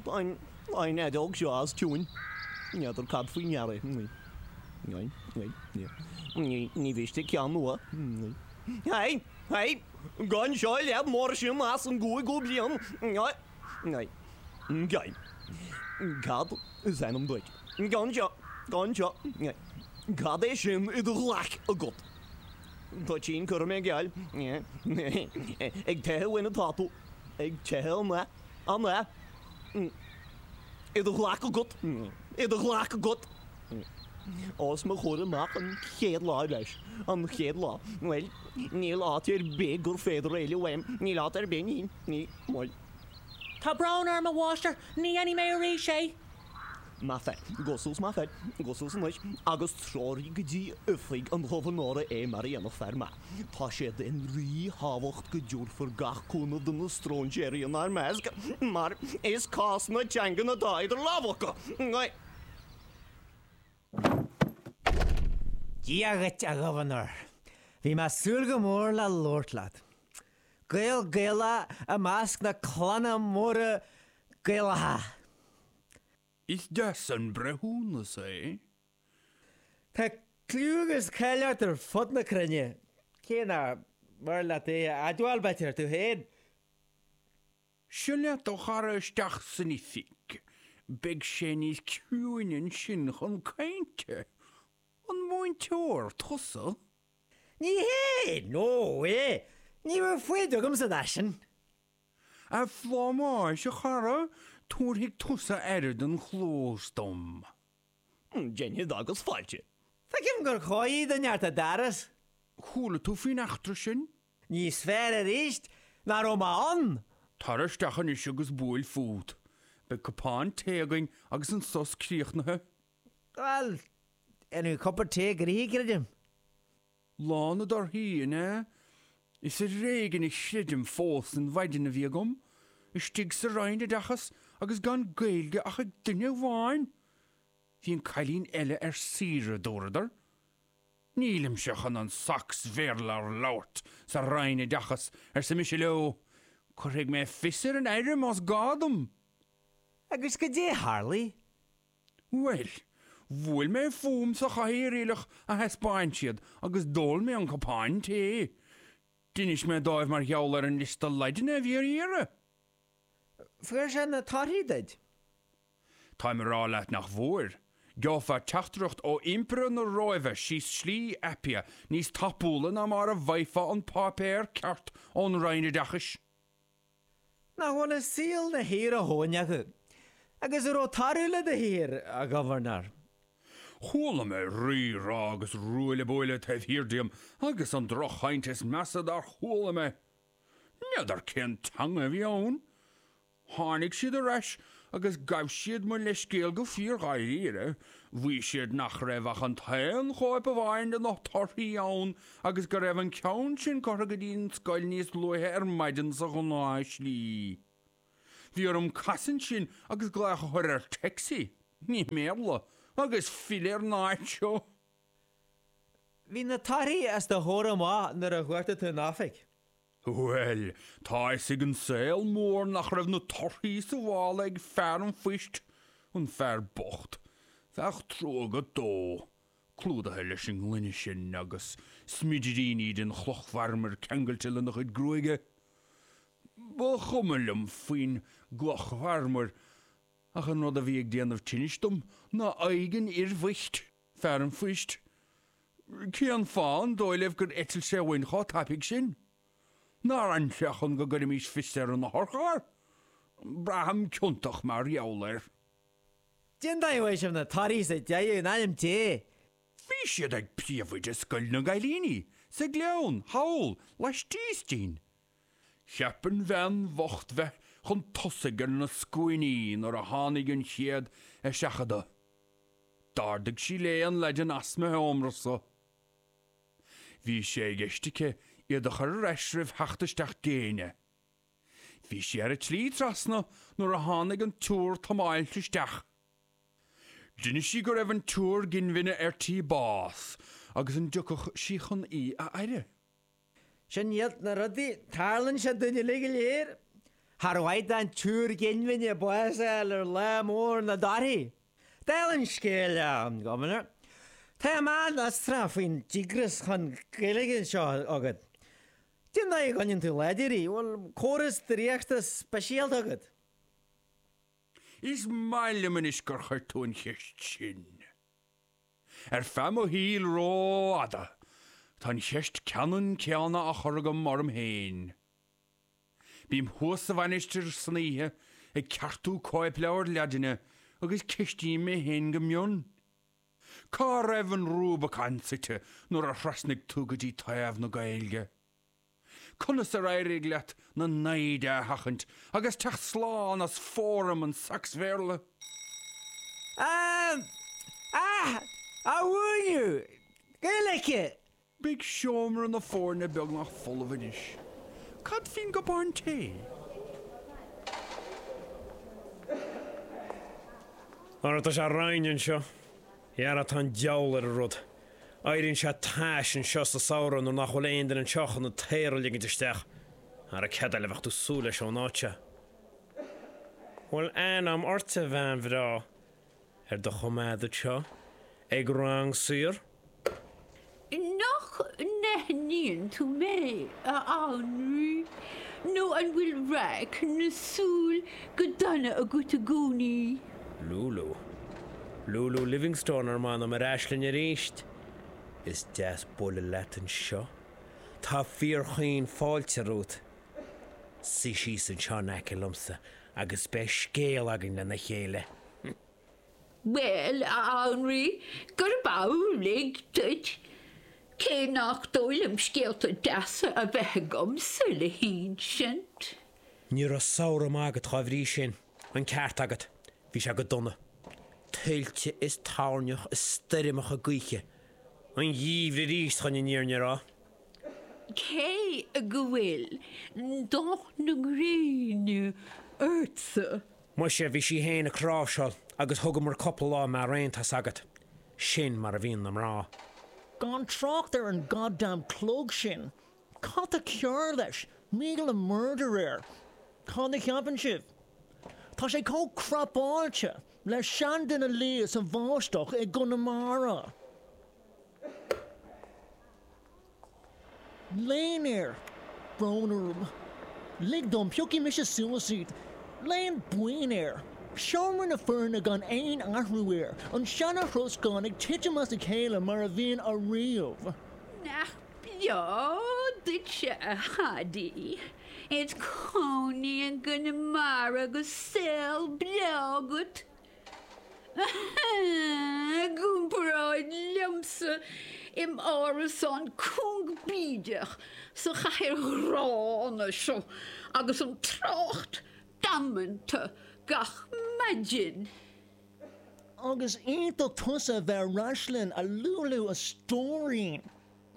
Tá an fheadóg seo as tiúin. N'fheadar cad faoi ndeara é. Ní mhiste ceann nua. Hei! Hei! Gan seo leat mar sin as an gcúigiú bliain. Cad is ainm duit? Gan seo! Gan seo! Cad é sin i do ghlac agat? Toitín curtha mé geall. Ag teitheadh uainn atá tú. Ag teitheadh an ea? An ea? I do ghlac agat. I do ghlac agat. Os mo chomhair amach an chéad lá leis. An chéad lá. Bhuel, níl áit ar bith gur féidir éalú uaim. Níl áit ar bith, níl, níl, bhuel. Tá brón orm, a mháistir, ní dhéanfaidh mé arís é. Maith fear. Gabh suas, maith fear. Gabh suas anois agus treoraigh go dtí oifig an ghobharnóra é mar a dhéanfadh fear maith. Tá sé den ríthábhacht go dtabharfar gach cúnamh do na stróinséirí inár measc, mar is cás na teangan atá idir lámha acu. Dia dhuit, a Ghobharnóir. Bhí mé ag súil go mór le labhairt leat. Gael Gaelach i measc na clanna móra Gaelacha. Is deas an breithiúnas é. Tá cliú agus cáil ort ar fud na cruinne, cé nach mór leat é a admháil, b'fhéidir, tú féin. Seo leat do chara isteach san oifig. Beidh sé níos ciúine ansin chun cainte. An múinteoir tusa? Ní hé! No way! Ní raibh foighid agamsa dó sin. A phlámáis, a chara, tabharfaidh tusa aire don chlós dom. Déanfaidh agus fáilte. Feicim gur chóir do neart a d'fhearas. Chuala tú faoin eachtra sin? Níos fearr arís nach raibh mé ann! Tar isteach anois agus buail fút. Beidh cupán tae againn agus an sos críochnaithe. Bhuel, déanfaidh cupa tae gnoithi, creidim. Lá na dtorthaí, an ea? Is ar éigean a chreidim fós an mhaidin a bhí agam, istigh sa Roinn Oideachais agus gan Gaeilge ach ag duine amháin! Bhí an cailín eile ar saoire, dúradar. Nílimse chun an Sacs-Bhéarla a labhairt sa Roinn Oideachais, arsa mise leo. Cuirfidh mé fios ar an Aire más gá dom! Agus goidé a tharlaigh? Bhuel, bhuail mé fúm sa chathaoir aoileach a thaispeáin siad agus d'ól mé an cupán tae. D'inis mé dóibh mar gheall ar an liosta Laidine a bhí ar iarraidh. Fuair sé na torthaí duit? Táim a rá leat nach bhfuair. Gheofá teachtaireacht ó Impire na Róimhe síos Slí Appia níos tapúla ná mar a bhfaighfeá an páipéar ceart ón Roinn Oideachais. Nach bhfuil an saol 'na shaor a dhóthain acu? Agus an raibh toradh le do shaothar, a Ghobharnóir? Chuala mé rí rá agus ruaille buaille taobh thiar díom agus an droch-chaint is measa dár chuala mé. N'fheadar cén teanga a bhí ann. Tháinig siad ar ais agus ghabh siad mo leithscéal go fíor-dháiríre. Mhaígh siad nach raibh ach an t-aon chóip amháin de na torthaí ann agus go raibh an ceann sin curtha go dtí an scoil níos luaithe ar maidin sa ghnáthshlí. Bhí orm casadh ansin agus glaoch a chur ar taxi, ní i mBéarla, agus filleadh ar an áit seo. Bhí na torthaí os do chomhair amach nuair a chuartaigh tú an oifig. Bhuel, tá a fhios ag an saol mór nach raibh na torthaí sa mhála ag fear an phoist, an fear bocht. Bheadh trua agat dó, clúdaithe leis an ngloine sin agus smidiríní den chloch mharmair ceangailte lena chuid gruaige. Ba chuma liom faoin gcloch mharmair, ach an rud a bhí ag déanamh tinnis dom ná aghaidh an fhir bhoicht. Fear an phoist. Cén fáth, an dóigh libh, gur eitil sé uainn chomh tapaidh sin? Nár fhan sé chun go gcuirfimís fios ar an otharcharr? Braithim ciontach mar gheall air. Cén dóigh a bhfuair sibh na torthaí sa deireadh, in ainm Dé? Bhí siad ag príomhoide Scoil na gCailíní, sa Ghleann, thall, laistíos dínn. Cheap an bhean bhocht bheith chun tosaigh ar na scuainí nuair a tháinig an chéad eiseachadadh. D'ardaigh sí léi an Laidin as mo sheomra-sa. Bhí sé i gceist aici iad a chur ar ais roimh theacht isteach d'éinne. Bhí sí ar a tslí trasna nuair a tháinig an tSiúr Thomáis isteach. D'inis sí go raibh an tSiúr Ginmhine ar tí bás agus an dtiocfadh sí chun í a fhaire. Sin iad na rudaí, tarlaíonn sé dúinn uilig go léir. Char mhaith don tSiúr Ginmhine bás a fháil ar lá mór na dtorthaí. Dála an scéil, a Ghobharnóir, táim an-fhiosrach faoin díograis chun Gaeilge seo agat. Cén dóigh a gcoinníonn tú láidir í? Bhfuil córas draíochta speisialta agat? Is maith liom anois gur chuir tú an cheist sin. Ar feadh mo shaoil rófhada, tá an cheist ceannann céanna á chur agam orm féin. Bím thuas sa mhainistir san oíche ag ceartú cóipleabhair Laidine agus ceistím mé féin go mion, Cá raibh an Rubicon suite nuair a thrasnaigh tú go dtí taobh na Gaeilge? Conas ar éirigh leat na naimhde a sheachaint agus teacht slán as fóram an tSacsbhéarla? Ah! Ah! A mhúineadh! Gaeilge! Beidh seomra na foirne beagnach folamh anois. Cad faoin gcupán tae? Ara tá sé righin anseo. Dhera tá an diabhal ar an rud. Éiríonn sé tais anseo sa samhradh nuair nach bhfuil aon duine anseo chun an t-aer a ligint isteach. Ara céard eile a bheadh tú súil leis ón áit seo? Bhfuil anam ort a bhean bhreá? Ar do choimeád anseo ag rang saor? Nach n-aithníonn tú mé, a Anraí? Nó an bhfuil raic na súl go dona agat i gcónaí? Lúlú. Lúlú Livingstone ar m'anam ar ais linn arís. Is deas bualadh leat anseo. Tá fíorchaoin fáilte romhat. Suigh síos anseo in aice liomsa agus beidh scéal againn lena chéile. Bhuel, a Anraí, gurb amhlaidh duit, cé nach dóigh liom scéalta deasa a bheith agamsa le hinsint. Ní raibh samhradh maith agat dá bhrí sin. An ceart agat. Bhí sé go dona. Tuilte is toirneach is stoirmeacha gaoithe. An geimhreadh arís chun an fhírinne a rá. Cé go bhfuil dath na gréine ortsa. Muise, bhí sí fhéin ag cráibhseáil agus thugamar cupla lá maraon, tá's agat. Sin mar a bhíonn na mná. Gan trácht ar an goddamn clog sin. Cad tá cearr leis? Míle murder air. Cad a cheapann sibh? Tá sé chomh crapáilte le seanduine liath sa bháisteach i gConamara. Léan air! Brón orm. Lig dom, piocfaidh mise suas iad. Léan buinn air! Seomra na foirne gan aon athrú air, an seana-throscán ag titim as a chéile mar a bhíonn ariamh. Nach breá duitse, a Phaidí, id chónaí i gConamara agus saol breá agat. I gcomparáid liomsa im árasán cúng bídeach sa chathair ghránna seo agus an trácht damanta gach maidin. Agus iontach tusa a bheith ar ais linn, a Lúlú, a stóirín.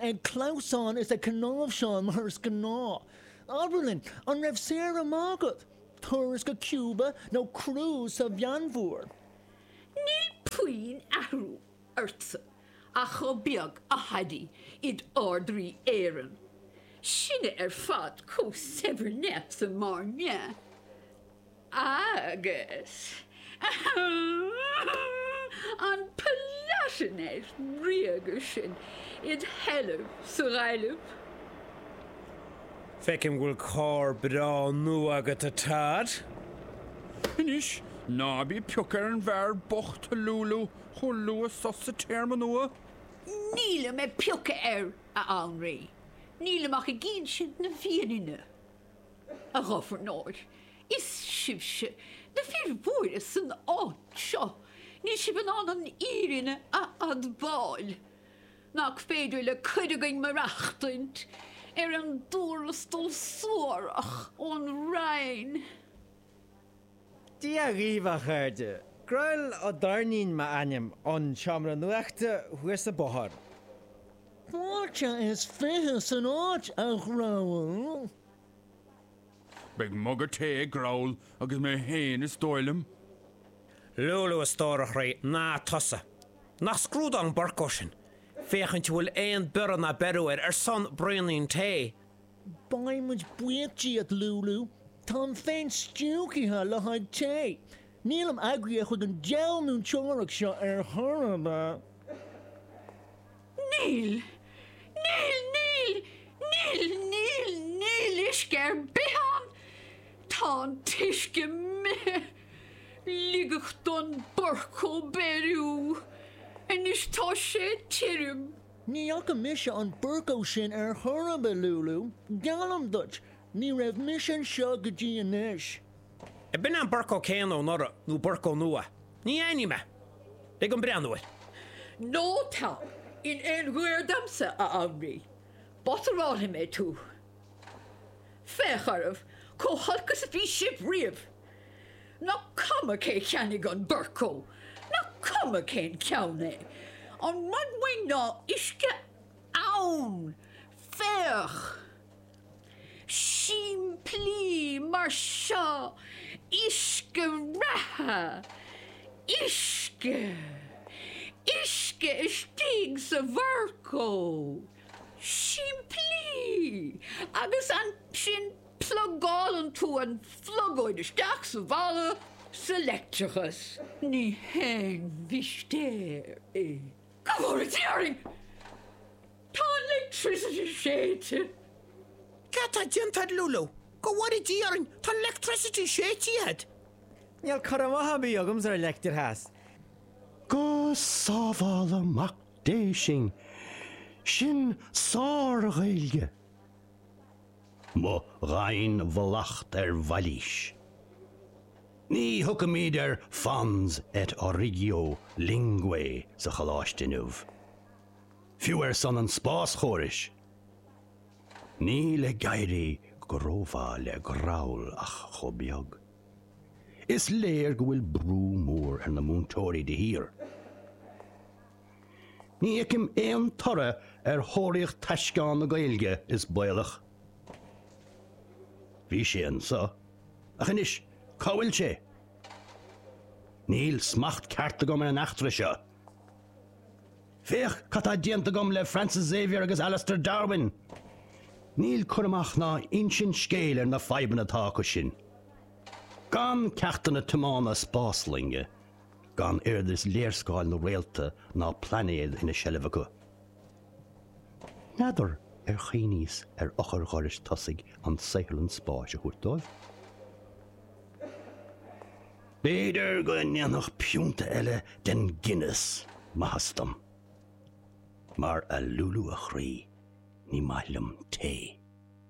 Ag clamhsán is ag cnáimhseáil mar is gnáth. Abair linn, an raibh saoire maith agat? Turas go Cuba nó cruise sa Mheánmhuir? Níl puinn athrú ortsa ach chomh beag, a Phaidí, id Ard-Rí Éireann. Sinne ar fad chomh saibhir leatsa, mar dhea. Agus an Palatinate ríoga sin id sheilbh sa Ghaillimh. Feicim go bhfuil carr breá nua agat, a Todd. Anois, ná bí ag piocadh ar an bhfear bocht, a Lúlú, chomh luath so sa téarma nua. Nílim ag piocadh air, a Anraí. Nílim ach ag insint na fírinne. A Ghobharnóir, is sibhse na fir mhóra san áit seo, níl sibh in ann an fhírinne a admháil. Nach féidir le cuid againn maireachtaint ar an dtuarastal suarach ón Roinn? Dia dhaoibh, a chairde. Grall Ó Doirnín m'ainm, ón seomra nuachta thuas an bóthar. Fáilte is 20 san áit, a Ghrowl. Beidh muga tae ag Growl agus mé féin is dóigh liom. Lúlú, a stór a chroí, ná tusa. Nach scrúdán Burko sin? Féachaint an bhfuil aon biorradh ná beiriú air ar son braoinín tae. Beidh muid buíoch díot, Lúlú. Táim féin stiúgtha le haghaidh tae. Nílim eagraithe chuig an diabhal múinteoireacht seo ar chor ar bith. Níl! Níl! Níl! Níl! Níl! Níl uisce ar bith ann! Tá an t-uisce imithe! Ligeadh don Burco beiriú. Anois tá sé tirim. Ní fhaca mise an Burco sin ar chor ar bith, Lúlú. Geallaim duit, ní raibh mise anseo go dtí anois. Ab in an Burco céanna ó anuraidh nó Burco nua? Ní aithním é. Lig dom breathnú air. Ná tar in aon ghaor domsa, a Anraí. Batarálfaidh mé tú. Féach oraibh, chomh holc is a bhí sibh riamh. Nach cuma cé cheannaigh an Burco, nach cuma cén ceann é, an rud uainn ná uisce ann! Féach! Simplí mar seo, uisce reatha, uisce, uisce istigh sa Bhurco! Simplí! Agus ansin plugálann tú an phlugóid isteach sa bhalla sa leictreachas. Ní haon mhistéir é. Go bhfóire Dia orainn! Tá an leictricity séidte! Cad tá déanta agat, Lúlú? Go bhfóire Dia orainn, tá an leictricity séidte agat! Níl cur amach ar bith agamsa ar leictreachas. Go sábhála Mac Dé sinn! Sin sár-Ghaeilge! Mo ghainmhallacht ar mhailís. Ní thiocfaimid ar fons et origo linguae sa choláiste inniu. Fiú ar son an spáschórais. Níl ag éirí go rómhaith le Growl ach chomh beag. Is léir go bhfuil brú mór ar na múinteoirí de shíor. Ní fheicim aon toradh ar thóraíocht taisceán na Gaeilge, is baolach. Bhí sé anseo, ach anois cá bhfuil sé? Níl smacht ceart agam ar an eachtra seo. Féach cad tá déanta agam le Francis Xavier agus Alastair Darwin! Níl cur amach ná insint scéil ar na fadhbanna atá acu sin. Gan ceachtanna tiomána spásloinge, gan oiread is léarscáil na réalta ná plainéad ina seilbh acu. N'fheadar ar chuimhníos ar eochair dhorais tosaigh an saotharlann spáis a thabhairt dóibh? B'fhéidir go ndéanfadh piúnta eile den Guinness maitheas dom. Mar a Lúlú a chroí, ní maith liom tae.